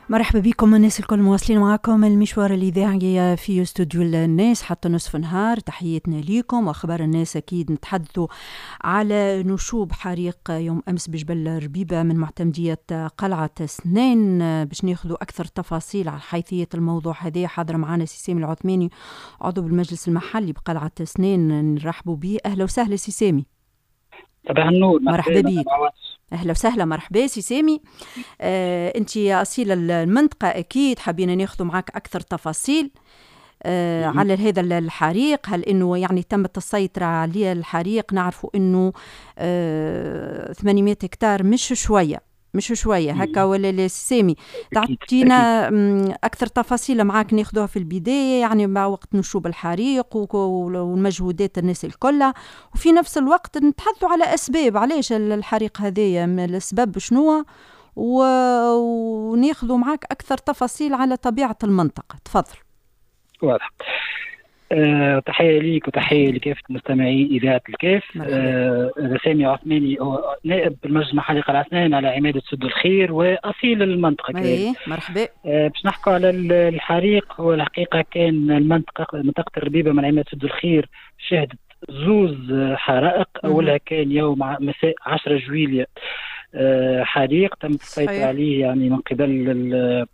مرحبا بكم الناس الكل، مواصلين معكم المشوار الإذاعي في استوديو الناس حتى نصف نهار. تحياتنا ليكم وأخبار الناس. أكيد نتحدثوا على نشوب حريق يوم أمس بجبل ربيبة من معتمدية قلعة سنان، باش ناخذوا أكثر تفاصيل على حيثية الموضوع هذا. حاضر معنا سي سامي العثماني، عضو بالمجلس المحلي بقلعة سنان، نرحبوا به. أهلا وسهلا سي سامي. صباح النور. مرحبا بك، اهلا وسهلا، مرحبا سي سامي. انت اصيل المنطقة اكيد، حبينا ناخذ معك اكثر تفاصيل على هذا الحريق. هل انه يعني تمت السيطرة على الحريق؟ نعرفوا انه 800 هكتار مش شويه، مش شوية هكا ولا لا سامي؟ تعطينا اكثر تفاصيل معاك ناخذوها في البدايه، يعني مع وقت نشوب الحريق والمجهودات الناس الكل، وفي نفس الوقت نتحدثوا على اسباب علاش الحريق هذايا، الاسباب شنو، وناخذوا معاك اكثر تفاصيل على طبيعة المنطقه. تفضل. واضح. تحية ليك وتحية لكافة مستمعي إذاعة الكاف. سامي عثماني هو نائب بالمجلس المحلي قلعة سنان على عمادة سد الخير وأصيل المنطقة. إيه، مرحبا. باش نحكوا على الحريق، هو الحقيقة كان المنطقة، منطقة الربيبة من عمادة سد الخير، شهدت زوز حرائق. أولها كان يوم مساء 10 جويلية، حريق تم السيطرة عليه يعني من قبل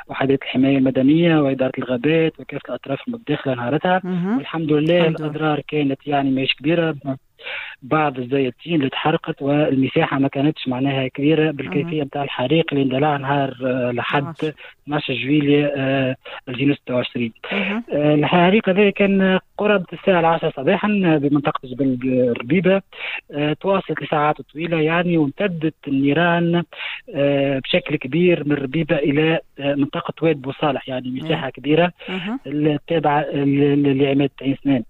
وحدات الحماية المدنية وإدارة الغابات وكافة الأطراف المتداخلة نهارتها، والحمد لله الأضرار كانت يعني ماهيش كبيرة، بعض الزيتين اللي تحرقت والمساحة ما كانتش معناها كبيرة بالكيفية نتاع الحريق اللي اندلع نهار لحد 12 جويلية 2026. الحريق هذا كان قرابة الساعة 10 صباحا بمنطقة جبل الربيبة، تواصلت لساعات طويلة يعني، وامتدت النيران بشكل كبير من الربيبة إلى منطقة واد بوصالح، يعني مساحة كبيرة التابعة لعمادة عين سنان.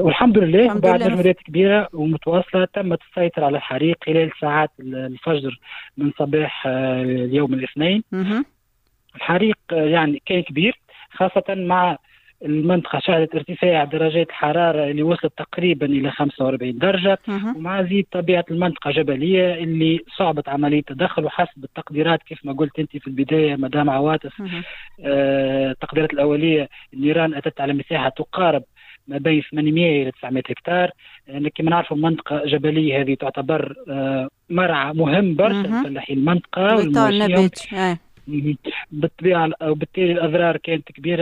والحمد لله بعد مجهودات كبيرة ومتواصلة تمت السيطرة على الحريق خلال ساعات الفجر من صباح اليوم الاثنين. الحريق يعني كان كبير، خاصة مع المنطقة شهدت ارتفاع درجات الحرارة اللي وصلت تقريبا إلى 45 درجة، ومع زيد طبيعة المنطقة جبلية اللي صعبت عملية التدخل. وحسب التقديرات كيف ما قلت أنت في البداية مدام عواطف، التقديرات الأولية النيران أتت على مساحة تقارب ما بين 800 إلى 900 هكتار. يعني كما نعرفوا منطقة جبلية هذه تعتبر مرعى مهم برشا لفلاحين المنطقة والمواشيهم بالطبيعة، وبالتالي الأضرار كانت كبيرة.